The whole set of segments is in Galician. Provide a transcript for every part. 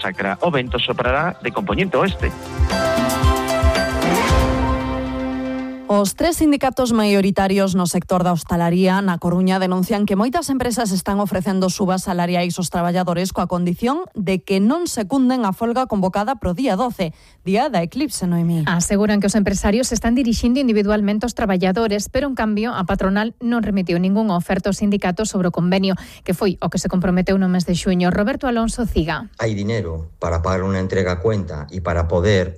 Sacra. O vento soprará de compoñente oeste. Os 3 sindicatos maioritarios no sector da hostalaría na Coruña denuncian que moitas empresas están ofrecendo subas salariais aos traballadores coa condición de que non secunden a folga convocada pro día 12, día da eclipse, Noemí. Aseguran que os empresarios están dirixindo individualmente aos traballadores, pero en cambio a patronal non remitiu ningunha oferta aos sindicatos sobre o convenio, que foi o que se comprometeu no mes de xuño. Roberto Alonso Ciga. Hay dinero para pagar una entrega a cuenta y para poder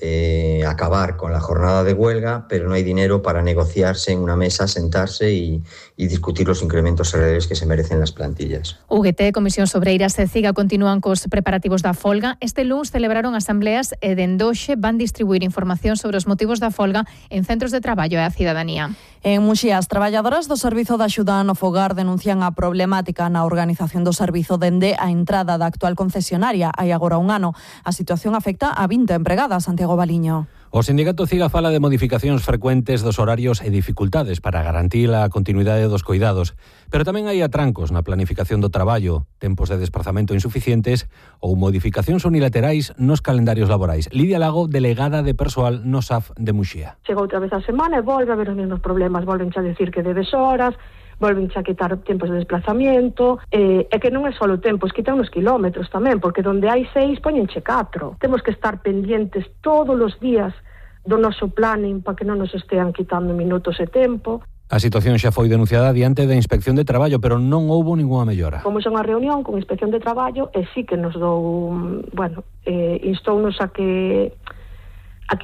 acabar con la jornada de huelga, pero no hay dinero para negociarse en una mesa, sentarse y discutir los incrementos salariales que se merecen las plantillas. UGT, Comisión Obreiras e CIGA continúan cos preparativos da folga. Este luns celebraron asambleas e dende hoxe van distribuir información sobre os motivos da folga en centros de traballo e a cidadanía. En Muxía, as traballadoras do Servizo de Axuda no Fogar denuncian a problemática na organización do servizo dende a entrada da actual concesionaria hai agora un ano. A situación afecta a 20 empregadas, Santiago Baliño. O sindicato CIGA fala de modificacións frecuentes dos horarios e dificultades para garantir a continuidade dos coidados, pero tamén hai atrancos na planificación do traballo, tempos de desplazamento insuficientes ou modificacións unilaterais nos calendarios laborais. Lidia Lago, delegada de persoal no SAF de Muxía. Chega outra vez a semana e volve a ver os mesmos problemas, volven a decir que debes horas, volven a quitar tempos de desplazamiento, e que non é só o tempo, quitan os kilómetros tamén, porque donde hai 6 poñenche 4. Temos que estar pendientes todos os días do noso planning para que non nos estean quitando minutos e tempo. A situación xa foi denunciada diante da Inspección de Traballo, pero non houbo ningunha mellora. Fomos a unha reunión con Inspección de Traballo e sí que nos instounos a que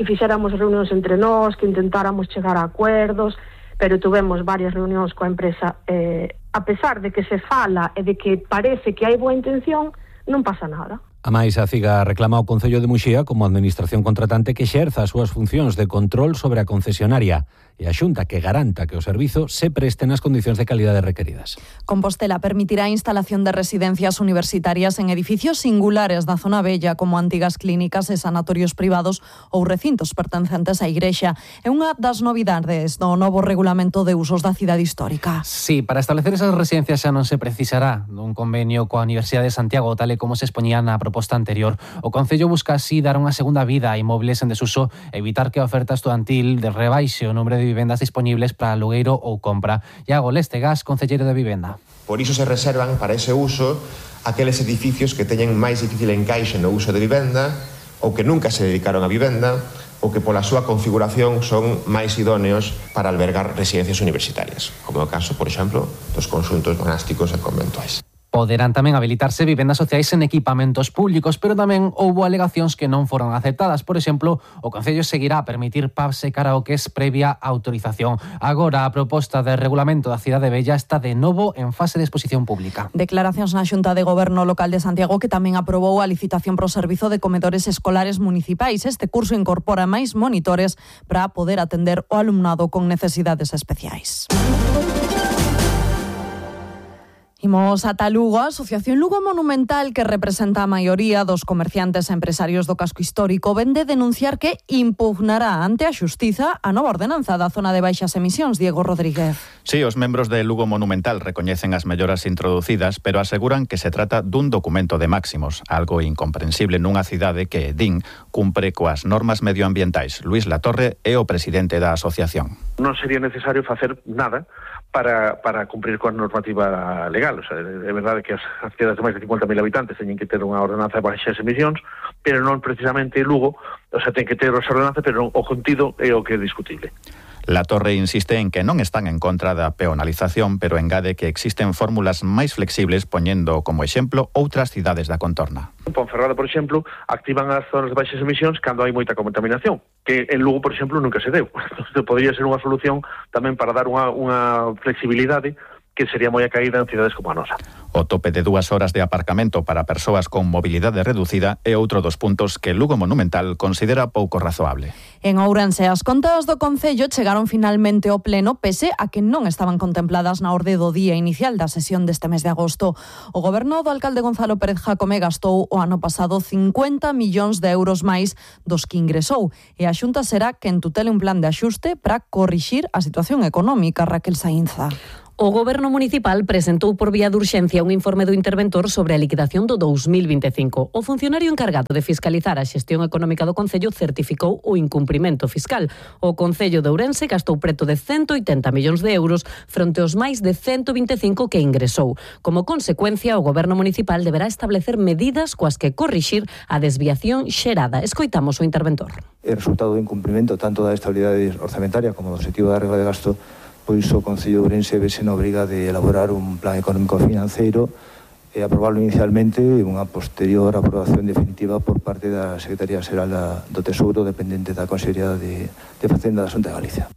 fixéramos reunións entre nós, que intentáramos chegar a acuerdos, pero tuvemos varias reunións coa empresa. A pesar de que se fala e de que parece que hai boa intención, non pasa nada. A máis, a CIGA reclama ao Concello de Muxía como administración contratante que exerza as súas funcións de control sobre a concesionaria e a Xunta que garanta que o servizo se preste nas condicións de calidade requeridas. Compostela permitirá a instalación de residencias universitarias en edificios singulares da zona vella como antigas clínicas e sanatorios privados ou recintos pertencentes á Igrexa. É unha das novidades do novo regulamento de usos da cidade histórica. Sí, para establecer esas residencias xa non se precisará dun convenio coa Universidade de Santiago, tal e como se expoñía na proposta anterior. O Concello busca así dar unha segunda vida a inmobles en desuso, evitar que a oferta estudantil de rebaixe o número de vivendas disponibles para alugueiro ou compra. Iago Lestegas, concelleiro de Vivenda. Por iso se reservan para ese uso aqueles edificios que teñen máis difícil encaixe no uso de vivenda ou que nunca se dedicaron a vivenda ou que pola súa configuración son máis idóneos para albergar residencias universitarias, como é o caso, por exemplo, dos conxuntos monásticos e conventuais. Poderán tamén habilitarse vivendas sociais en equipamentos públicos, pero tamén houbo alegacións que non foron aceptadas. Por exemplo, o Concello seguirá a permitir pubs e karaokes previa autorización. Agora, a proposta de regulamento da Cidade Vella está de novo en fase de exposición pública. Declaracións na Xunta de Goberno Local de Santiago, que tamén aprobou a licitación pro servizo de comedores escolares municipais. Este curso incorpora máis monitores para poder atender o alumnado con necesidades especiais. Imos ata Lugo. A Asociación Lugo Monumental, que representa a maioría dos comerciantes e empresarios do casco histórico, vende denunciar que impugnará ante a Xustiza a nova ordenanza da zona de baixas emisións. Diego Rodríguez. Sí, os membros de Lugo Monumental recoñecen as melloras introducidas, pero aseguran que se trata dun documento de máximos, algo incomprensible nunha cidade que, din, cumpre coas normas medioambientais. Luís Latorre é o presidente da asociación. Non sería necesario facer nada para cumprir coa normativa legal. O sea, é verdade que as cidades de máis de 50.000 habitantes teñen que ter unha ordenanza de baixas emisións, pero non precisamente Lugo, o sea, ten que ter esa ordenanza, pero o contido é o que é discutible. Latorre insiste en que non están en contra da peonalización, pero engade que existen fórmulas máis flexibles, poñendo como exemplo outras cidades da contorna. En Ponferrada, por exemplo, activan as zonas de baixas emisións cando hai moita contaminación, que en Lugo, por exemplo, nunca se deu. Entón, podría ser unha solución tamén para dar unha flexibilidade que sería moi acaída en cidades como a nosa. O tope de 2 horas de aparcamento para persoas con mobilidade reducida é outro dos puntos que Lugo Monumental considera pouco razoable. En Ourense, as contas do Concello chegaron finalmente ao pleno, pese a que non estaban contempladas na orde do día inicial da sesión deste mes de agosto. O goberno do alcalde Gonzalo Pérez Jácome gastou o ano pasado 50 millóns de euros máis dos que ingresou, e a Xunta será quen tutele un plan de axuste para corrixir a situación económica. Raquel Saínza. O Goberno municipal presentou por vía de urxencia un informe do interventor sobre a liquidación do 2025. O funcionario encargado de fiscalizar a xestión económica do Concello certificou o incumprimento fiscal. O Concello de Ourense gastou preto de 180 millóns de euros fronte aos máis de 125 que ingresou. Como consecuencia, o Goberno municipal deberá establecer medidas coas que corrixir a desviación xerada. Escoitamos o interventor. O resultado do incumprimento tanto da estabilidade orzamentaria como do objetivo da regla de gasto, pois o Concello de Ourense vese na obriga de elaborar un plan económico financeiro e aprobarlo inicialmente e unha posterior aprobación definitiva por parte da Secretaría Xeral do Tesouro, dependente da Consellería de Facenda da Xunta de Galicia.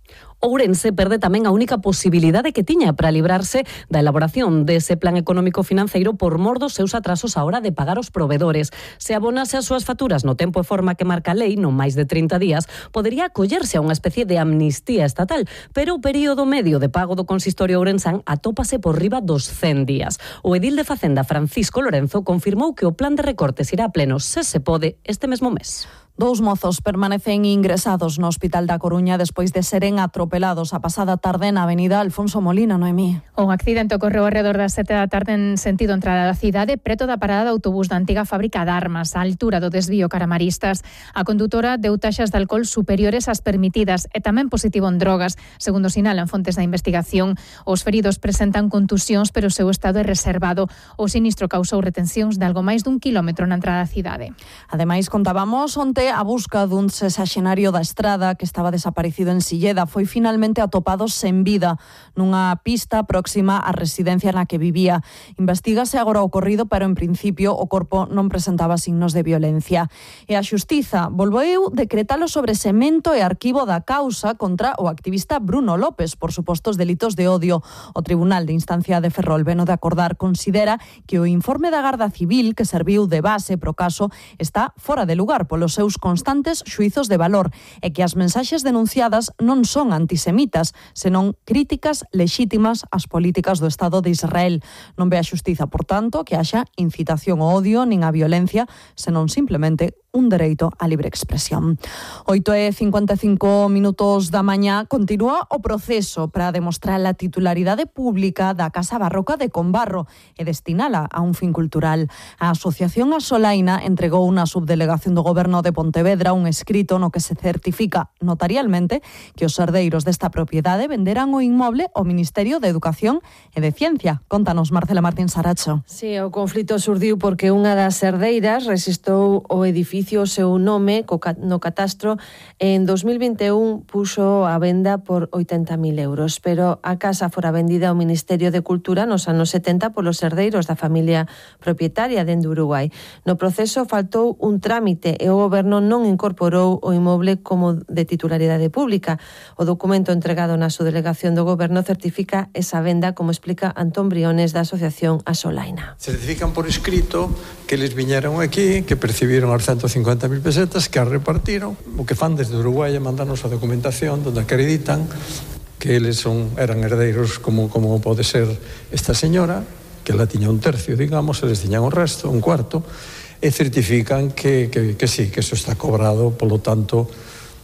Ourense perde tamén a única posibilidade que tiña para librarse da elaboración dese plan económico financeiro por mor dos seus atrasos á hora de pagar os provedores. Se abonase as súas facturas no tempo e forma que marca a lei, non máis de 30 días, podería acollerse a unha especie de amnistía estatal, pero o período medio de pago do consistorio ourensán atópase por riba dos 100 días. O edil de Facenda, Francisco Lorenzo, confirmou que o plan de recortes irá a pleno, se pode, este mesmo mes. 2 mozos permanecen ingresados no Hospital da Coruña despois de seren atropelados a pasada tarde na avenida Alfonso Molina, Noemí. O accidente ocorreu alrededor das 7 da tarde en sentido entrada da cidade, preto da parada de autobús da antiga fábrica de armas, á altura do desvío cara Maristas. A condutora deu taxas de alcohol superiores ás permitidas e tamén positivo en drogas. Segundo sinalan fontes da investigación, os feridos presentan contusións, pero o seu estado é reservado. O sinistro causou retencións de algo máis dun quilómetro na entrada da cidade. Ademais, contábamos onte a busca dun sexaxenario da Estrada que estaba desaparecido en Silleda foi finalmente atopado sen vida nunha pista próxima á residencia na que vivía. Investígase agora o ocorrido, pero en principio o corpo non presentaba signos de violencia. E a Xustiza volveu decretar o sobresemento e arquivo da causa contra o activista Bruno López por supostos delitos de odio. O Tribunal de Instancia de Ferrol, veno de acordar, considera que o informe da Garda Civil que serviu de base pro caso está fora de lugar polos seus constantes xuizos de valor e que as mensaxes denunciadas non son antisemitas, senón críticas lexítimas ás políticas do Estado de Israel. Non ve a Xustiza, por tanto, que haxa incitación ao odio nin á violencia, senón simplemente un dereito á libre expresión. 8:55 da mañá continúa o proceso para demostrar a titularidade pública da Casa Barroca de Combarro e destinala a un fin cultural. A Asociación Asolaina entregou unha subdelegación do Goberno de Pontevedra un escrito no que se certifica notarialmente que os herdeiros desta propiedade venderan o inmoble ao Ministerio de Educación e de Ciencia. Contanos, Marcela Martín Saracho. Sí, o conflito surdiu porque unha das herdeiras rexistrou o edificio o seu nome no catastro e en 2021 puxo a venda por 80.000 euros, pero a casa fora vendida ao Ministerio de Cultura nos anos 70 polos herdeiros da familia propietaria dende Uruguai. No proceso faltou un trámite e o Goberno non incorporou o inmoble como de titularidade pública. O documento entregado na subdelegación do Goberno certifica esa venda, como explica Antón Briones da Asociación Asolaina. Certifican por escrito que eles viñeron aquí, que percibiron as 150.000 pesetas, que as repartiron. O que fan desde Uruguai é mandarnos a documentación onde acreditan que eles eran herdeiros como pode ser esta señora, que ela tiña un tercio, digamos, eles tiñan o resto, un cuarto, e certifican que sí, que eso está cobrado, polo tanto,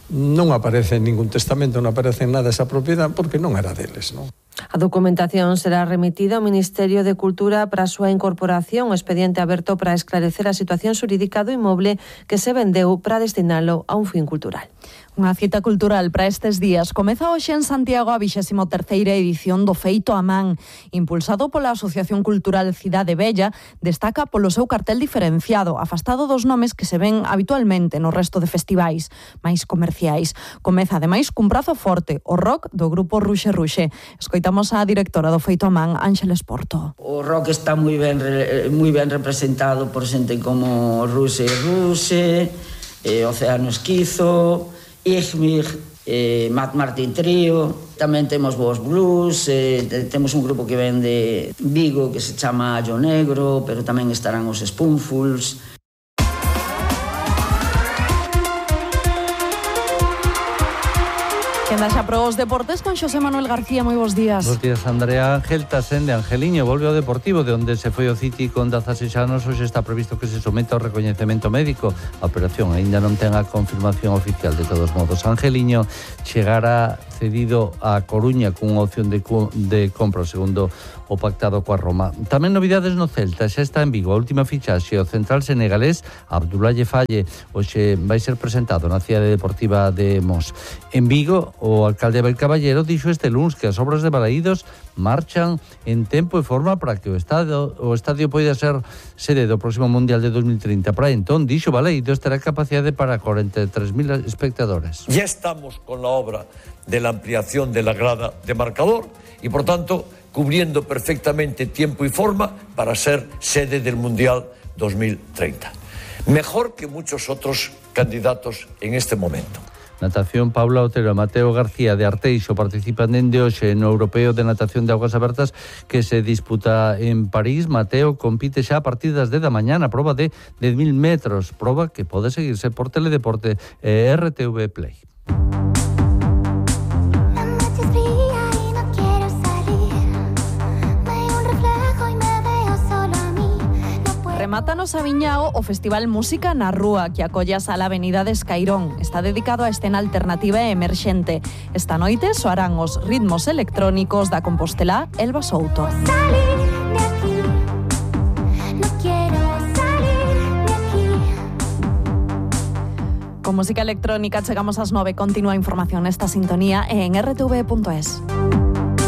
non aparece en ningún testamento, non aparece en nada esa propiedade, porque non era deles, non? A documentación será remitida ao Ministerio de Cultura para a súa incorporación, o expediente aberto para esclarecer a situación xurídica do inmoble que se vendeu para destinalo a un fin cultural. Unha cita cultural para estes días. Comeza hoxe en Santiago a 23ª edición do Feito a Man. Impulsado pola Asociación Cultural Cidade Bella, destaca polo seu cartel diferenciado, afastado dos nomes que se ven habitualmente no resto de festivais máis comerciais. Comeza, ademais, cun brazo forte, o rock do grupo Ruxe Ruxe. Escoitamos a directora do Feito a Man, Ángeles Porto. O rock está moi ben representado por xente como Ruxe Ruxe, Océano Esquizo, Igmig, Matt Martin Trío. Tamén temos Vos Blues, temos un grupo que ven de Vigo que se chama Allo Negro, pero tamén estarán os Spoonfuls. Quenda xa para os deportes con Xosé Manuel García, moi bons días. Bos días, Andrea. Ángel Tasende, Angeliño, volve ao Deportivo, de onde se foi o City con 16 anos. Hoxe está previsto que se someta ao recoñecemento médico. A operación aínda non ten a confirmación oficial. De todos modos, Angeliño chegará cedido a Coruña cunha opción de compra, segundo o pactado coa Roma. Tamén novidades no Celta, xa está en Vigo a última fichaxe, o central senegalés Abdoulaye Faye. Hoxe vai ser presentado na cidade deportiva de Mos. En Vigo, o alcalde Abel Caballero dixo este luns que as obras de Balaídos marchan en tempo e forma para que o estadio poida ser sede do próximo Mundial de 2030. Para entón, dixo Balaídos, terá capacidade para 43.000 espectadores. Ya estamos con la obra de la ampliación de la grada de marcador y, por tanto, cubriendo perfectamente tiempo y forma para ser sede del Mundial 2030. Mejor que muchos otros candidatos en este momento. Natación, Paula Otero e Mateo García de Arteixo participan dende hoxe no Europeo de Natación de Augas Abertas que se disputa en París. Mateo compite xa a partir das 10 da mañá na proba de 10.000 metros, proba que pode seguirse por Teledeporte e RTV Play. Remata no Sabiñao o Festival Música na Rúa, que acolle a Sala Avenida de Escairón. Está dedicado a escena alternativa e emerxente. Esta noite soarán os ritmos electrónicos da compostelá Elba Souto. Con música electrónica chegamos ás 9. Continúa a información nesta sintonía en rtv.es.